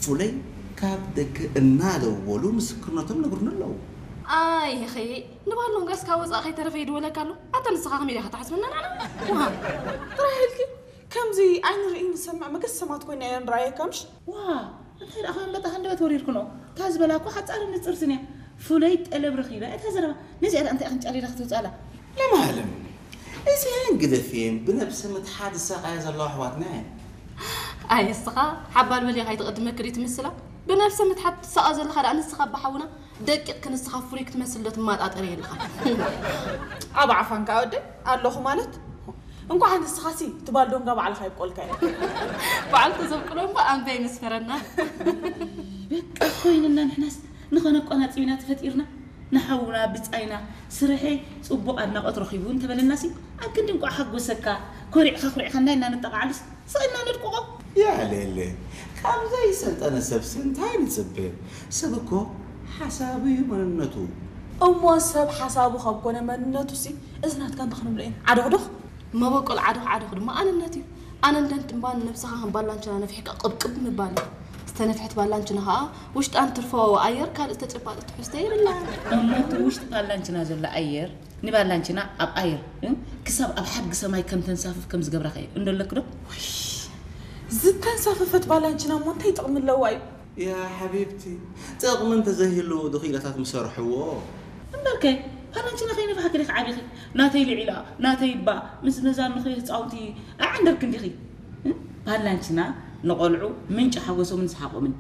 ፍለይ ካብ ደገ እናደወሉ ምስክርነቶም ነግሩኒ ኣለዉ። ኣይ ኸይ ንባሎም ጋስ ካብ ወፃእ ከይተረፈ ይድወለካ ኣሎ። ኣታ ንስኻ ከመይ ዲኻ ትሓስበና ንዓና? ዋ፣ ጥራይ ኢልኪ ከምዚ ኣይንርኢ ንሰምዕ መገሰማት ኮይና እየ ንረኣየካ ምሽ? ዋ እንታይ ደኣ ከመንበጣ ክንደበት ወሪድክኖ? እታ ዝበላ እኮ ሓፃርን ንፅርትን እያ። ፍሉይ ጠለብ ረኺበ እታ ዘረባ። ነዚኣ ደኣ እንታይ ክንጨሊላ ክትውፅኣላ? ለማለም እዚኣን ግደፍየን ብነብሰ ምትሓት ዝሳቐያ ዘለዋ ኣሕዋትና እየን። ኣይ እስኻ ሓባል በል ከይትቕድመኪ ድዩ ትምስላ? ብነብሰ ምትሓት ትሳቐ ዘለኻ ደኣ ንስኻ ብሓውና ደቂቕ ክንስኻ ፍሩይ ክትመስል ዶ ትማጣጠር የለኻ? ኣብ ዓፋንካ ወደ ኣለኹ ማለት እንኳዕ ንስኻሲ ትባል ዶንጋ ባዕልኻ ይብቆልካ እየ። በዓል ተዘብቅሎ እምባ ኣንበይ ምስ ፈረና። በቃ ኮይንና ንሕናስ ንኸነቆናጽብ ኢና ተፈጢርና። ንሓውና ብጻይና ስርሐይ ጽቡቕ ኣድናቖት ረኺቡ እንተበለናሲ ኣብ ክንዲ እንቋዕ ሓጎሰካ ኮሪዕካ ኩሪዕካ እንዳይና ንጠቓዓሉስ ስቕ ኢልና ነድቅቖ። ያሌለ ካብ ዘይሰልጠነ ሰብሲ እንታይ ንጽበ? ሰብ እኮ ሓሳቡ እዩ መንነቱ። እሞ ሰብ ሓሳቡ ካብ ኮነ መንነቱ ሲ እዚ ናትካ እንታይ ክንብሎ ኢና? ዓዶኽዶኽ መበቆል ዓዶኽ ዓዶኽ ድማ ኣንነት እዩ። ኣነንደንት እምባ ንነብስኻ ከም ባላንችና ነፊሕካ ቅብቅብ ምባል እዩ። ዝተነፍሐት ባላንችና ኸዓ ውሽጣ እንትርፎ ኣየር ካልእ ዝተጨባጠ ትሕዝቶ የብላን። እሞ እቲ ውሽጢ ባላንችና ዘሎ ኣየር ንባላንችና ኣብ ኣየር እ? ክሳብ ኣብ ሓድጊ ሰማይ ከም ተንሳፍፍ ከም ዝገብራ ኸ እንደለክ ዶ? ዝተንሳፈፈት ባላንችና እሞ እንታይ ጥቕሚ ኣለዋ እዩ? ያ ሓቢብቲ ጥቕሚ እንተዘይህልዎ ዶ ክኢላታት ምሰርሕዎ? እምበርከ ባላንችና ከይነፋሕኪ ዲኺ ዓቢኺ ናተይ ልዒላ ናተይ እባ ምስ ነዛ ንኽሪ ህፃውንቲ ኣዕንደርክ እንዲኺ እ? ባላንችና ንቖልዑ ምንጪ ሓጎሶምን ሰሓቖምን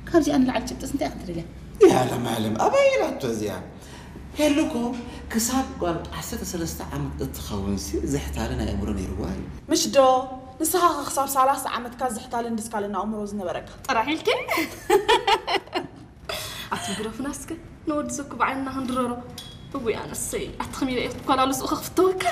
ካብዚኣ ንላዕሊ ጭብጥስ እንታይ ኢኻ ትደልያ? ያለማለም ኣበይ ኢላቶ እዚኣ? ሄሉ እኮ ክሳብ ጓል ዓሰርተ ሰለስተ ዓመት እትኸውን ሲ ዝሕታለ ናይ ኣእምሮ ነይርዋ እዩ። ምሽ ዶ ንስኻ ኸ ክሳብ ሰላሳ ዓመትካ ዝሕታልን ድስካልን ኣእምሮ ዝነበረካ? ጥራሕ ኢልኪ ኣቲ ግረፉና እስከ ንወዲ ዘኩ ብዓይንና ክንድረሮ። እውይ ኣነሰይ ኣቲ ከመይ ኢለ እየ ክኳላሉ ስኡ ከክፍተወካ።